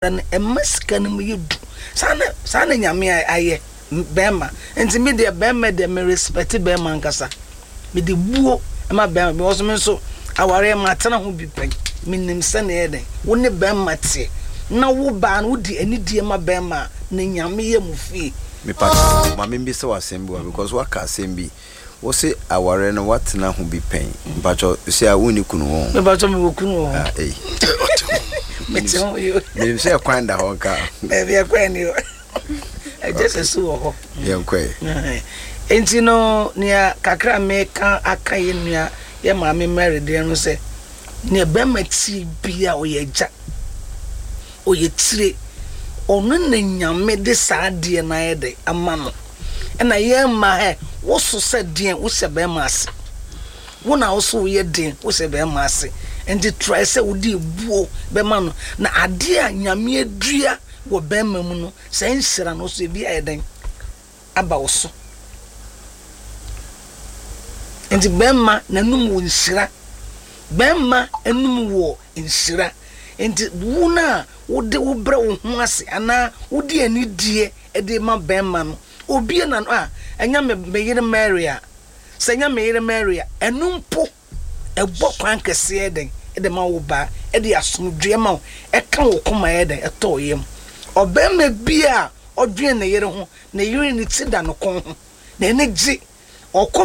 No ɛma sika no mu yɛ du. Saa na saa na Nyame ayɛ bɛɛma. Nti me deɛ bɛɛma deɛ me respect bɛɛma ankasa. Me de buo ma bɛɛma because me nso awareɛ matena ho bi pɛn. Me nim sɛnea ɛyɛ dɛn wo ne bɛɛma teɛ na wo baa no wo de anidie ma bɛɛma a na Nyame yɛ mo fie. Mepakyɛw ma membisa wo asɛm bi wa because woaka asɛm bi Wose awareɛ no woatena ho bi pɛn? Mpakyɛw sɛ a wonni kunu wɔ ho? Mepakyɛw mewɔ kunu wɔ ho. Ah, ei. Mete ho yo. Menim sɛ ɛkwan da hɔ nka. Baabi ɛkwan ni hɔ. Ɛgye sɛ su wɔ hɔ. Yɛnkɔe. Enti no nea kakra meka aka yɛ nua yɛ maame Mary deɛ no sɛ nea bɛrima tie bia ɔyɛ agya. Ɔyɛ tire. Ɔno na Nyame de saa adeɛ no ayɛ dɛ ama no. Ɛna yɛn mmaa hɛ, wo so sɛ deɛn, wo hyɛ bɛɛma ase. Wo na wo so wo yɛ den, wo hyɛ bɛɛma ase. Nti try sɛ wo de ebuo bɛma no. Na adeɛ a Nyame adua wɔ bɛɛma mu no, saa nhyira no so ebi ayɛ dɛn aba wo so. Nti bɛɛma n'anum wɔ nhyira. Bɛɛma anum wɔ nhyira. Nti wo no a wode wo brɛ wo ho ase anaa wode anidie de ma bɛrima no, obue n'ano a, ɛnyɛ me me yere Mary a, sɛ ɛnyɛ me yere Mary a, ɛno mpo ɛbɔ kwan kɛseɛ dɛn de ma wo baa, ɛde asomdwoeɛ ma wo, ɛka wo koma yɛ dɛn, ɛtɔ wo yam. Ɔbarima bi a ɔdwene ne yere ho, ne yere ne ti da ne kɔn ho, n'ani gye, ɔkɔ.